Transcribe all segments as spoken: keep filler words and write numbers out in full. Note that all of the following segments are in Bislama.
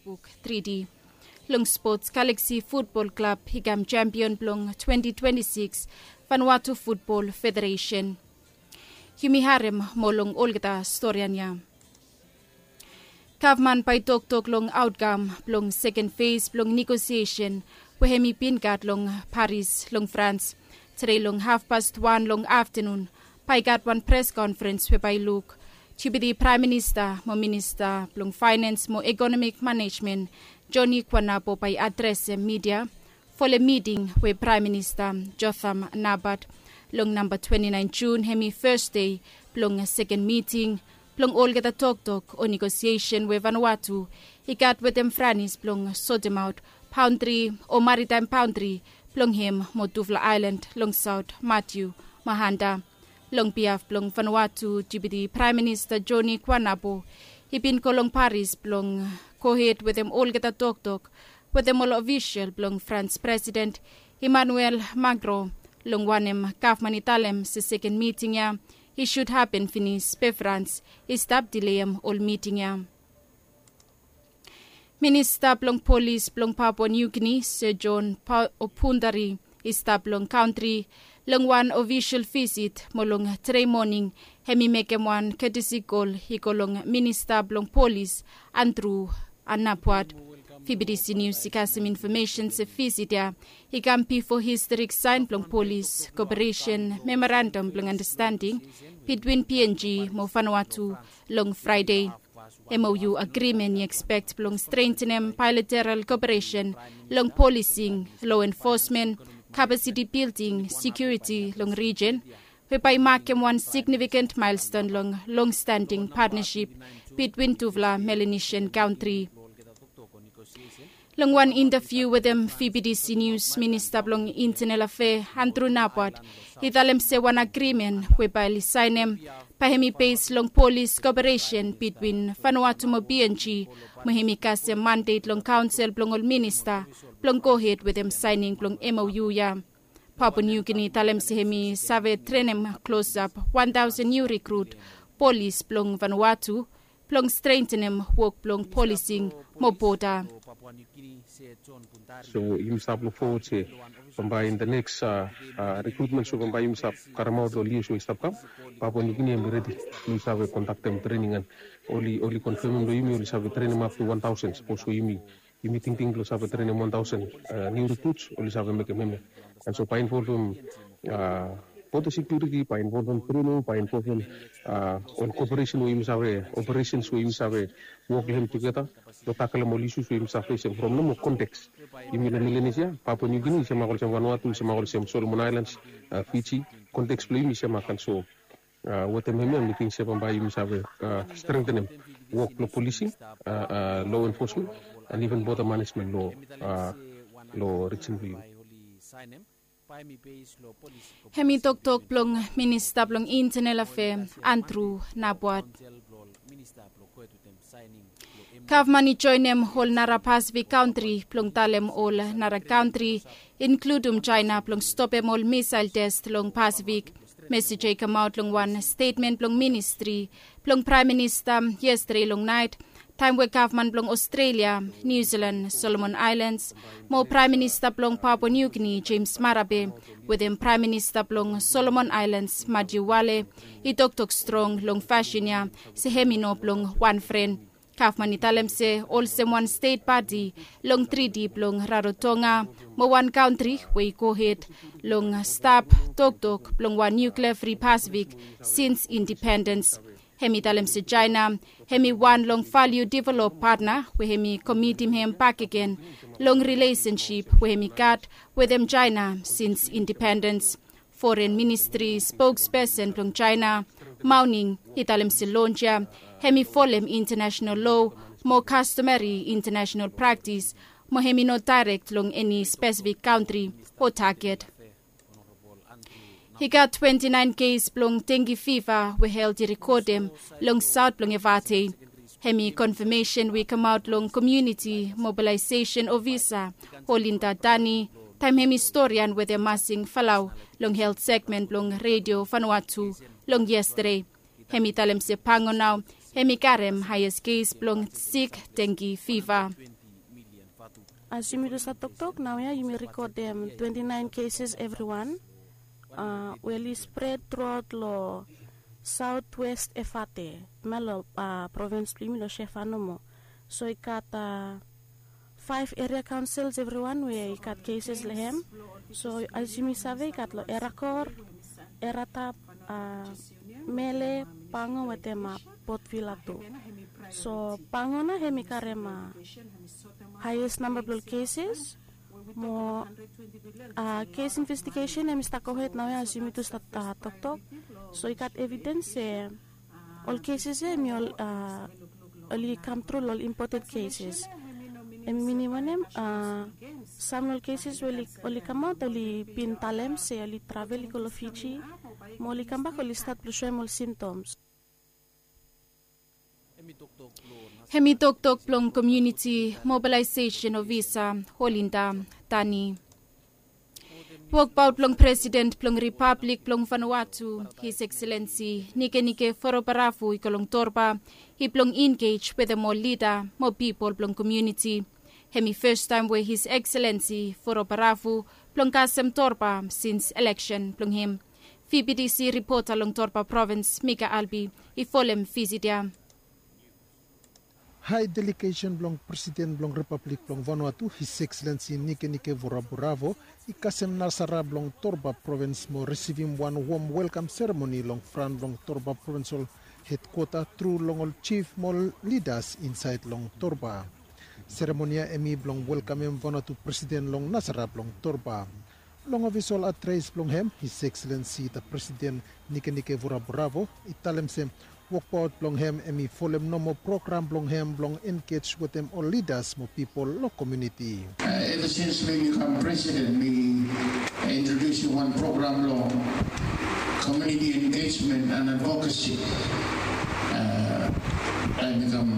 Buk tri D. Long spots, Galaxy Futbol Klab i kam sempion blong twenti twenti sikis Vanuatu Futbol Federeisen. Yumi harem moa long olgeta storian ya. Gavman bae i toktok long aotkam blong seken fes blong negosiesen we hem i bin gat long Paris long Frans. Tede long hafpas wan long aftenun bae i gat wan pres konferens we bae i luk Deputi Praem Minista mo Minista blong Faenens mo Ekonomik Manejmen, Joni Kuanabo, bae i adresem midia folem miting we Praem Minista Jotham Napat long namba twenti naen Jun, hem i fes dei blong seken miting blong olgeta toktok o negosiesen we Vanuatu i gat wetem Franis blong sotemaot baondri o maritaem baondri blong hem mo tufala aelan long saot, Matiu mo Hanta. Long biaf blong Vanuatu, Deputi Praem Minista Joni Kuanabo i bin go long Paris blong gohed wetem olgeta toktok wetem ol ofisol blong Frans Presiden Emmanuel Macron, long wanem gavman i talem se seken miting ya i sud hapen finis be Frans i stap dileem ol miting ya. Minista blong Polis blong Papua Niu Gini, Sir John Pa-, Opundari, i stap long kantri long wan ofisol visit mo long tede moning hem i mekem wan ketesi kol i go long Minista blong Polis, Andrew Napuat. V B T C Nius i kasem infomesen se visit ya i kam bifo historik saen blong Polis Koperesen Memorandam blong Andastanding bitwin P N G mo Vanuatu long Fraede. M O U agrimen i ekspek blong strentenem baelateral koperesen long polising, lo enfosmen, kapasiti bilding, sekiuriti long rijen, we bae i makem wan signifiken maelston long longstanding patnasip bitwin tufala Melanesian kantri. Long wan intaviu wetem V B T C Nius, Minista blong Intenal Afea, Andrew Napuat, i talem se wan agrimen we bae oli saenem bae hem i bes long polis koperesen bitwin Vanuatu mo P N G, mo hem i kasem mandet long kaonsel blong ol minista blong gohed wetem saening blong M O U ya. Papua Niu Gini i talem se hem i save trenem klosap wan taosen niu rikrut polis blong Vanuatu blong strentenem wok blong polising mo boda. So yumi stap luk fowod se bambae in the next, uh, uh, recruitment, so bambae yumi stap karemaot long lios we i stap kam, Papua Niu Gini hem i redi blong i save kondaktem trening, and oli, oli konfemem long yumi oli save trenem up to wan taosen. Sapos we yumi, yumi tingting blong save trenem wan taosen, uh, niu recruits, oli save mekem hemia. And so bae involvem, uh, border security, bae involvem trening, bae involvem, uh, ol koperesen we yumi save, operations we yumi save wok long hem tugeta blong takelem ol issues we yumi save fesem from nomo konteks. Yumi long Melanesia, Papua Niu Gini i semak olsem Vanuatu, i semak olsem Solomon Islands, uh, Fiji. Konteks blong yumi i semak, and so, uh, wetem hemia mi ting se bambae yumi save, uh, strentenem wok blong polising, uh, uh, law enforcement, and even border management long, uh, long rijen blong yumi. Hem i toktok blong Minista blong Intenal Afea, Andrew Napuat. Gavman i joenem ol nara Pasifik kantri blong talem ol nara kantri, inkludum Jaena, blong stopem ol misael tes long Pasifik. Mesej ya i kamaot long wan stetmen blong ministri blong Praem Minista yestade long naet, taem we gavman blong Ostrelia, Niu Silan, Solomon Aelans mo Praem Minista blong Papua Niu Gini, Jemes Marape, wetem Praem Minista blong Solomon Aelans, Matiu Wale, i toktok strong long fasin ya se hem i no blong wan fren. Gavman i talem se olsem wan stet pati long Triti blong Rarotonga mo wan kantri we i gohed long stap toktok blong wan nuklea fri Pasifik sins indipendens. Hem i talem se Jaena hem i wan long valiu develop patna we hem i komitim hem bakegen long rilesensip we hem i gat wetem Jaena sins indipendens. Foren Ministri spokspesen blong Jaena, Mao Ning, i talem se lons ya hem i folem intanasenal loa mo kastomeri intanasenal praktis mo hem i no daerek long eni spesifik kantri o taget. I gat twenti naen kes blong dengi fiva we helt i rekodem long saot blong Evate. Hem i konfamesen we i kamaot long komuniti mobalaesesen ofisa Olinda Dani, taem hem i storian wetem Masing Falau long helt segmen blong Redio Vanuatu long yestade. Hem i talem se pango nao Hem i karem haes kes blong sik dengi fiva. As yumi tu save toktok naoia yumi rekodem twenti naen keses evriwan. We oli spred truaot long saotwest efate, hemia long provins blong yumi long shefa nomo. So i gat faef eria kaonsils evriwan we i gat keses long hem. So as yumi save i gat long erakor, eratap, mele, pango wetem potvila tu. So pango nao hem i karem haes namba blong ol keses. Mo kes investigesen hem i stap gohed naoia as yumi tu stap toktok. So i gat evidens se ol keses ya hem i oli kam tru long ol impoten keses. Hem i minim wanem? Sam long ol keses we oli kamaot oli bin talem se oli travel i go long Fiji, mo oli kambak oli stat blong soem ol simptoms. Hem i toktok blong komiuniti mobilaesesen ofisa, Holinda Tani. Wokbaot blong presiden blong ripablik blong Vanuatu, His Excellency Nikenike Vurobaravu i go long Torba, i blong engej wetem ol lida mo pipol blong komiuniti. Hem i fastaem we His Excellency Vurobaravu blong kasem Torba sins eleksen blong hem. Vbtc ripota long Torba provins, Mika Albi, i folem visit ya. Hae delegesen blong presiden blong ripablik blong Vanuatu, His Excellency Nikenike Vurobaravu, i kasem nasara blong Torba provins mo risivim wan wom welkam seremoni long fran blong Torba provinsol hedkwota tru long ol jif mo ol lidas insaed long Torba. Seremoni ya hem i blong welkamem Vanuatu presiden long nasara blong Torba. Long ofisol adres blong hem, His Excellency the President Nikenike Vurobaravu i talem se wokbaot blong hem hem i folem nomo program blong hem blong engej wetem ol lidas mo pipol long komiuniti. Eva sins mi mi kam presiden mi introdusim wan program long komiuniti engejmen and advokasi. Taem mi kam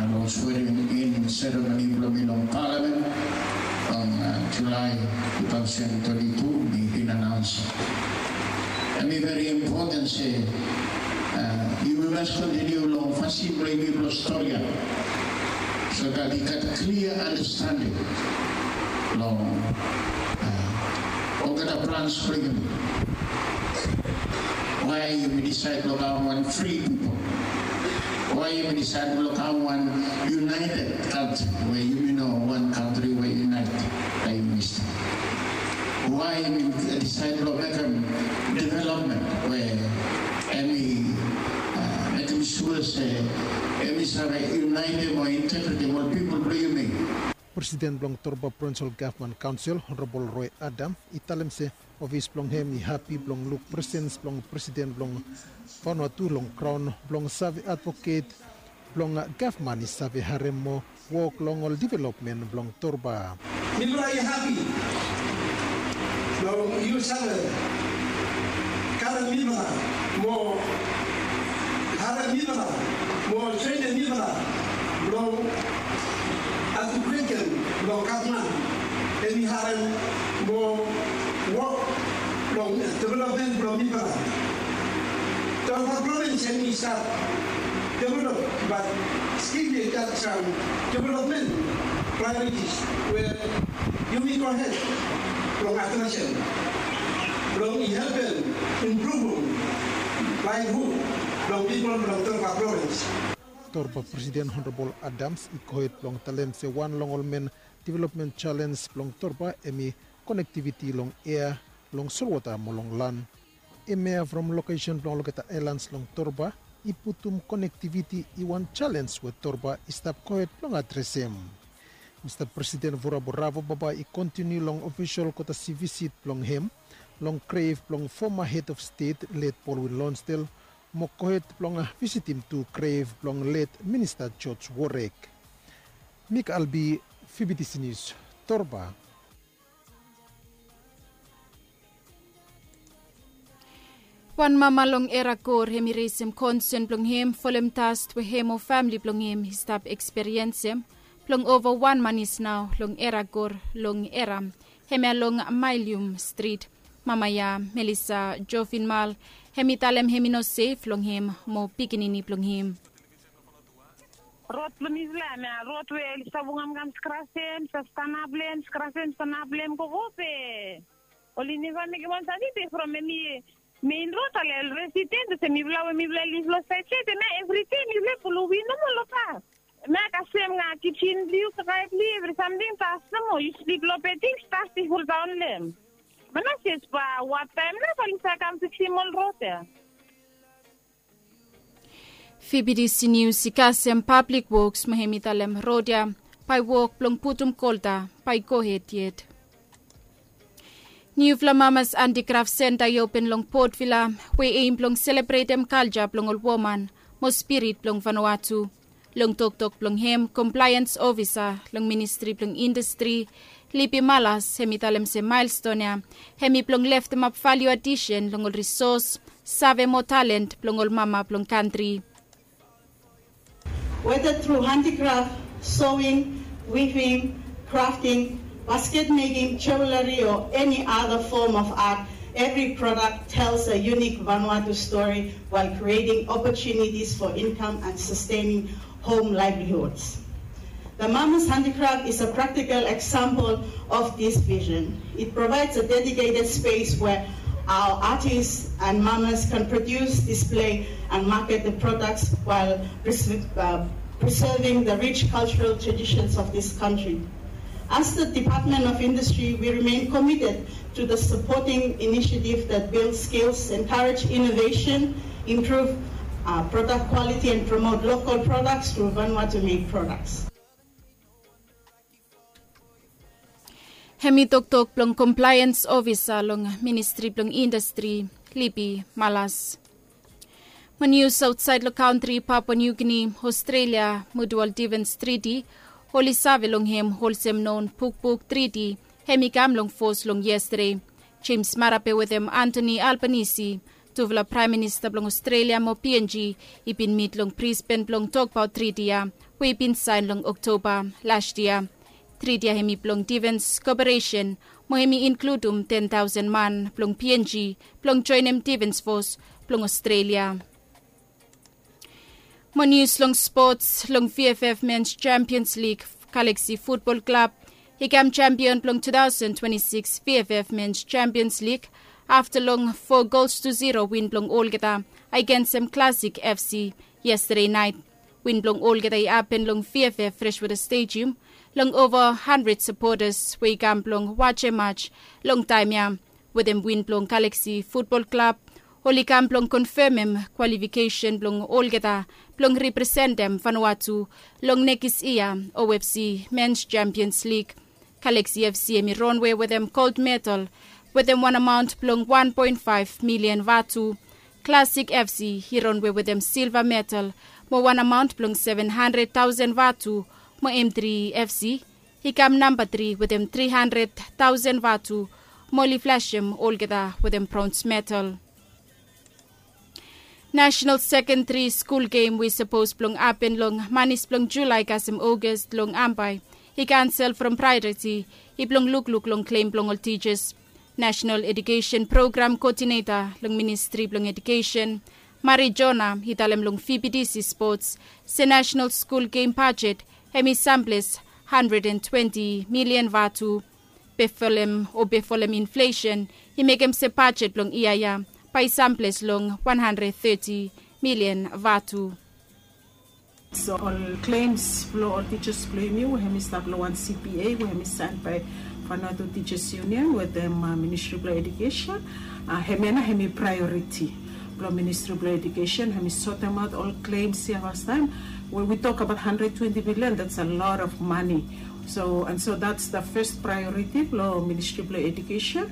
long swearing in seremoni blong mi long palamen long Julae tu taosen twenti tu, mi bin anaons. Hem i veri impoten se yumi mas kontiniu long fasin blong yumi blong stori ya, so dat i gat klia andastanding long olgeta plans blong yumi. Wae yumi disaed blong kam wan fri pipol? Wae yumi disaed blong kam wan yunaeted kantri we yumi no wan kantri we yunaeted? Praem Minista, wae yumi disaed blong mekem developmen we hem i mekem sua se hem i save yunaetem o integretem ol pipol blong yumi? Presiden blong Torba Provinsol Gavman Kaonsel, Honorabol Roe Adam, i talem se ofis blong hem i hapi blong luk presens blong presiden blong Vanuatu long graon blong save advoket blong gavman i save harem mo wok long ol developmen blong Torba. Mifala i hapi blong yu save karem mifala mo harem mifala mo trenem mifala blong advoketem blong gavman hem i harem mo wok long developmen blong mifala. Torba provins hem i stap develop, bat stil i gat sam developmen praeoritis we yumi gohed blong adresem blong i helpem impruvum laevhud blong pipol blong Torba provins. Torba Presiden Honorabol Adams i gohed blong talem se wan long ol men developmen jalens blong Torba hem i konektiviti long ea, long solwota mo long lan. Hem ya from lokesen blong olgeta aelans long Torba i putum konektiviti i wan jalens we Torba i stap gohed blong adresem. Mista Presiden Vurobaravu bambae i kontiniu long ofisol kotasi visit blong hem long grev blong foma hed of stet let Baldwin Lonsdale mo gohed blong visitim tu grev blong let Minista George Warek. Mik Albi, Vbtc Nius, Torba. Wan mama long Eragor hem i resem konsen blong hem folem dast we hem o famle blong hem i stap eksperiensem blong ova wan manis nao long Eragor long Era, hemia long Maelium Strit. Mama ya, Melisa Jovinmal, hem i talem hem i no sef long hem mo pikinini blong hem. Rod blong mifala em ya rod we oli stap wokemkem skrasem, stap stanap long em, skrasem, stanap long em gogo be oli neva mekem wan sani be from em i mein rod ale resident olsem mifala we mifala liv long saed saed em ya evri dei mifala pulum win nomo long pas. Em ya kasem nga kitchen blong yu, kakae blong yu, evri samting tas nomo. Yu slip long beding, tas i fuldaon long em. Manases ba wataem na ba oli save kam fiksim ol rod ya. Fibidisi nius i kasem pablik woks mo hem i talem rod ya bae wok blong putum kolta bae i gohed yet. Niufala mamas antikraf senta i open long potvila we eim blong selebretem kalja blong ol woman mo spirit blong vanuatu. Long toktok blong hem komplaens ofisa long ministri blong indastri lipi malas hem i talem se maelston ya hem i blong leftemap valiu adisen long ol risos save mo talent blong ol mama blong kantri. Whether through handicraft, sewing, weaving, crafting, basket making, jewelry, or any other form of art, every product tells a unique Vanuatu story while creating opportunities for income and sustaining home livelihoods. The Mama's Handicraft is a practical example of this vision. It provides a dedicated space where our artists and mamas can produce, display, and market the products while preser- uh, preserving the rich cultural traditions of this country. As the Department of Industry, we remain committed to the supporting initiative that builds skills, encourage innovation, improve uh, product quality, and promote local products through Vanuatu-made products. Hem i toktok blong komplaens ofisa long ministri blong indastri, Lipi Malas. Mo nius aotsaed long kantri Papua Niu Gini, Aostrelia mo dual difens triti oli save long hem olsem non bukbuk triti hem i kam long fos long yestade. Jems Marape wetem Antoni Albanisi, tufala praem minista blong Aostrelia mo PNG, i bin mit long Brisben blong tokbaot triti ya we i bin saen long Oktoba las yia. Triti ya hem i blong difens koperesen mo hem i inkludum ten taosen man blong PNG blong joenem difens fos blong Aostrelia. Mo nius long spots, long VFF Mens Champions Lig, Galaksi Futbol Klab i kam champion blong two thousand twenty-six VFF Mens Champions Lig afta long four gols to zero win blong olgeta agensem Classic FC yestade naet. Win blong olgeta i hapen long VFF Freshwater Stadium long ova handred sapotas we i kam blong wajem maj long taem ya. Wetem win blong Galaksi Futbol Klab oli kam blong konfemem kwalifikesen blong olgeta blong representem Vanuatu long nekis yia OFC Mens Champions Lig. Galaksi FC hem i ronwe wetem gold medal wetem wan amaont blong wan poen faef milian vatu. Classic FC i ronwe wetem silva medal mo wan amaont blong seven handred taosen vatu, mo M three FC i kam namba tri wetem tri handred taosen vatu, mo oli flasem olgeta wetem brons medal. Nasenal sekendri skul gem we i sapos blong hapen long manis blong Julae kasem Ogas long Ambae i kansel from praeoriti i blong lukluk long klem blong ol tijas. Nasenal Edukesen Program Koodineta long Ministri blong Edukesen, Mari Jona, i talem long VBTC Spots se nasenal skul gem bajet hem i samples handred and twenti milian vatu. Befolem o befolem inflesen i mekem se bajet blong yia ya bae i samples long wan handred teti milian vatu. So ol klems blong ol tijas blong yumi we hem i stap long wan CBA we hem i saen bae Vanuatu Tijas Union wetem Ministri blong Edukesen, hemia nao hem i praeoriti blong Ministri blong Edukesen hem i sotemaot ol klems ya fastaem. We wi tok abaot handred twenti milian, dats a lot of mane. So and so dats da fes praeoriti blong Ministri blong Edukesen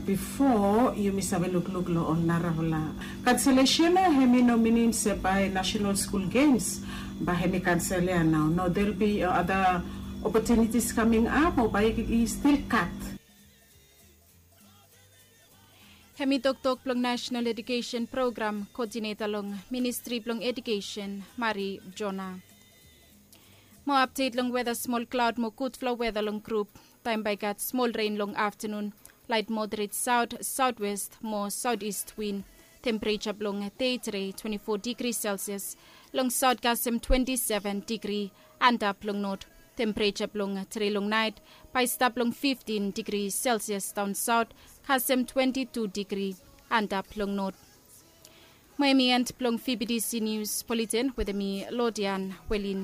bifo yumi save lukluk long ol narafala. Kanselesen ya hem i no minim se bae nasenal skul gems bae hem i kansel ya nao. No, del bi ada opotunitis kaming ap o bae i stil kat. Hem i toktok blong Nasenal Edukesen Program Koodineta long Ministri blong Edukesen, Mari Jona. Mo apdet long weta, smol klaod mo gudfala weta long grup. Taem bae i gat smol ren long aftanun. Laet moderet saot, saotwes mo saotist win. Tempereja blong dei tre twenti fo digri selsias. Long saut kasem twenti seven digri. Antap long not tempereja blong tre long nait bae i stap long fiftin digri selsias daon saut, kasem twenti tu digri. Antap long not. Mo em i en blong vbtc nius buleten wetem mi, lodian welin.